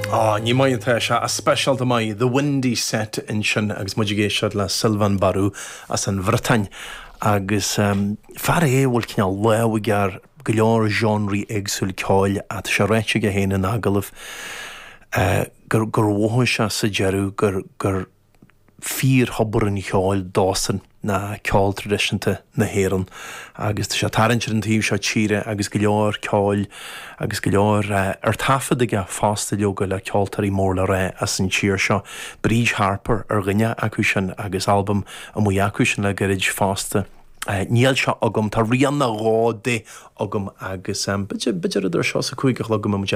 Á, ní maith atá sé, ach speisialta maith, The Windy Set ansin agus muid ag éisteacht le Sylvain Barou as an Bhriotáin agus fear é a bhfuil cineál lámh aige ar go leor genres éagsúil ceoil ach tá sé ráite aige féin in agallamh gur gur mhothaigh sé sa deireadh gur gur fíor-thobar an cheoil dósan ná ceol traidisiúnta na hÉireann agus tá sé ag tarraingt ar an taobh seo tíre agus go leor ceoil agus go leor ar taifead aige fosta leoga le ceoltóirí mór le rá as an tír seo. Bríd Harper ar dhuine acu sin agus albam amuigh acu sin le gairid fosta. Níl sé agam, tá rian nó dhó de agam agus b'fhéidir, b'fhéidir idir seo is a 5 a chlog go mbeidh muid.